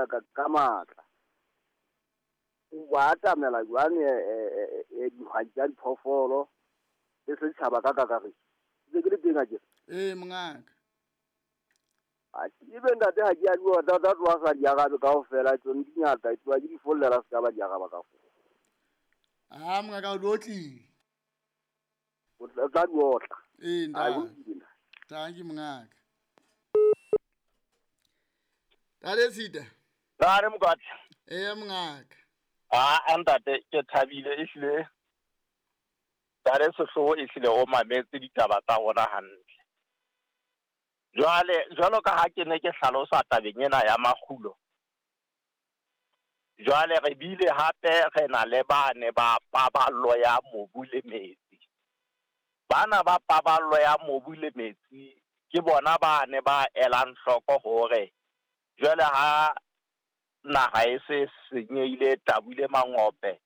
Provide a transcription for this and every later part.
ka matla. O ba atamela jwang dihwai tsa diphoofolo le setjhaba ka kakaretso? Ntse ke le teng akere? Ee, mongaka. Ebe ntate ha ke a bua tata tloha sa di arabe kaofela, tsone di ngata, tloha ke di follela se ka ba di araba kaofela. Ah, mongaka o di otlile. O tla di otla. Ee, ntate. Thank you, mongaka. Tate Sita. Nare Mokwatle. Ee, mongaka. Ah, ntate ke thabile ehlile. Tate Sehloho ehlile o mametse ditaba tsa rona hantle. Jwale jwalo ka ha ke ne ke hlalosa tabeng ena ya makgulo. Jwale re bile hape re na le bane ba paballo ya mobu le metsi. Bana ba paballo ya mobu le metsi ke bona bane ba elang hloko hore jwale ha naha e se senyehile tabule mangope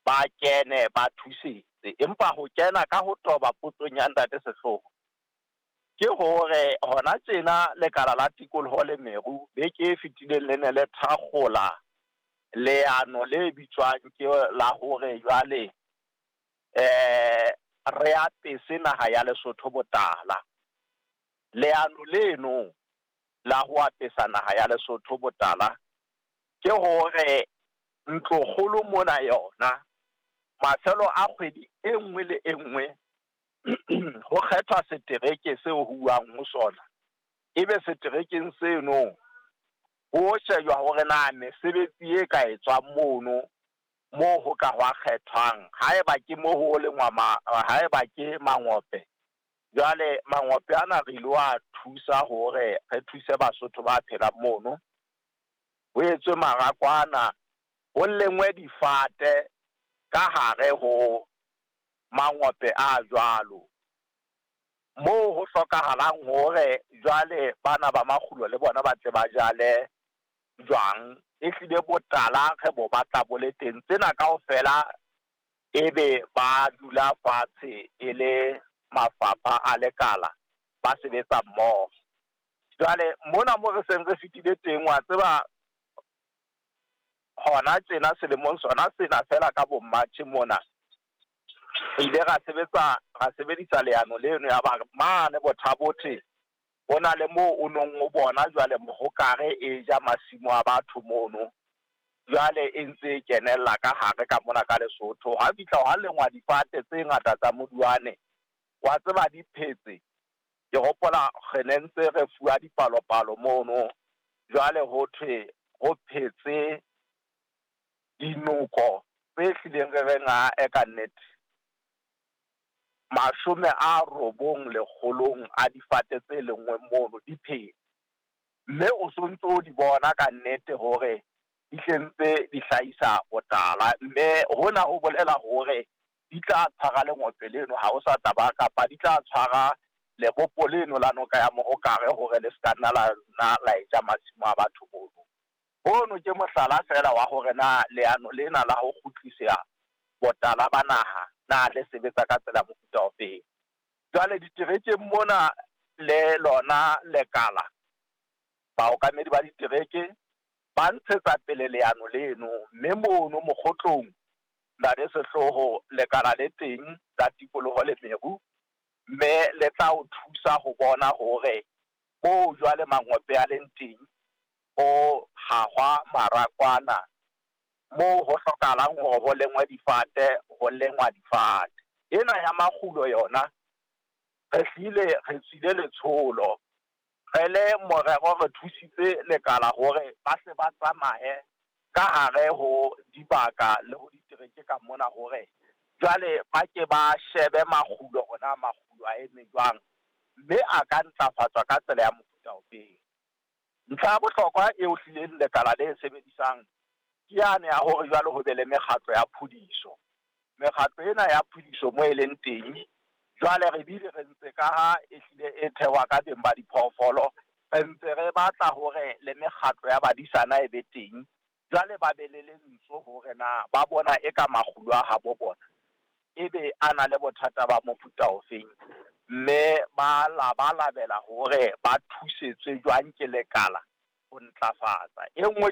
ba kene ba thusetse. Empa ho kena ka ho toba potsong ya ntate Sehloho ke hore hona tjena lekala la tikoloho le meru beke e fetileng le ne le thakgola leano le bitswang ke la hore jwale re apese naha ya Lesotho botala. Leano leno la ho apesa naha ya Lesotho botala ke hore ntlokgolo mona yona mafelo a kgwedi e nngwe le e nngwe ho kgethwa setereke seo ho uwang ho sona. Ebe seterekeng seno ho shejwa hore na mesebetsi e ka etswang mono moo ho ka hwa kgethwang. Haeba ke mo ho lengwa haeba ke mangope, jwale mangope ana re ilo a thusa hore re thuse Basotho ba phelang mono. Ho etswe marakwana, ho lengwe difate ka hare ho mangope a jwalo. Moo ho hlokahalang hore jwale bana ba makgulo le bona ba tle ba jale jwang, ehlile botala re bo batla bo le teng. Tsena kaofela ebe ba dula fatshe e le mafapha a lekala ba sebetsa mmoho. Jwale mona mo re seng re fetile teng, wa tseba hona tjena selemong sona sena fela ka bo March mona re ile ra sebetsa ra sebedisa leano leno ya ba mane Bothabothe ho na le moo o nong o bona jwale mohokare e ja masimo a batho mono. Jwale e ntse e kenella ka hare ka mona ka Lesotho. Ha fihla hwa lengwa difate tse ngata tsa moduane, wa tseba di phetse. Ke hopola re ne ntse re fuwa dipalopalo mono. Jwale ho thwe ho phetse dinoko tse hlileng re reng a ka nnete 900 a difate tse lengweng mono di phetse. Mme o sontso o di bona ka nnete hore di hlentse di hlahisa botala. Mme hona ho bolela hore di tla tshwara lengope leno ha o sa tla ba, kapa di tla tshwara lebopo leno la noka ya Mohokare hore le ska nna la nna la eja masimo a batho mono. Hono ke mohlala fela wa hore na leano lena la ho kgutlisa botala ba naha na le sebetsa ka tsela mofuta ofeng. Jwale diterekeng mona le lona lekala, baokamedi ba ditereke ba ntshetsa pele leano leno, mme mono mokgotlong Ntate Sehloho lekala le teng la tikoloho le meru, mme le tla o thusa ho bona hore moo jwale mangope a leng teng ho hahwa marakwana, moo ho hlokahalang hore ho lengwe difate, ho lengwa difate. Ena ya makgulo yona re hlile re tswile letsholo, re le morero re thusitse lekala hore ba hle ba tsamaye ka hare ho dibaka le ho ditereke ka mona hore jwale ba ke ba shebe makgulo hore na makgulo a eme jwang, mme a ka ntlafatswa ka tsela ya mofuta ofeng. Ntlha ya bohlokwa eo hlileng lekala le sebedisang ke yane ya hore jwale ho be le mekgatlo ya phudiso. Mekgatlo ena ya phudiso mo e leng teng jwale re bile re ntse ka ha e hlile e thehwa ka beng ba diphoofolo, re ntse re batla hore le mekgatlo ya badisana e be teng. Jwale ba be le lentswe hore na ba bona e ka makgulo a habo bona ebe a na le bothata ba mofuta ofeng, mme ba labalabela hore ba thusetswe jwang ke lekala ho ntlafatsa. E nngwe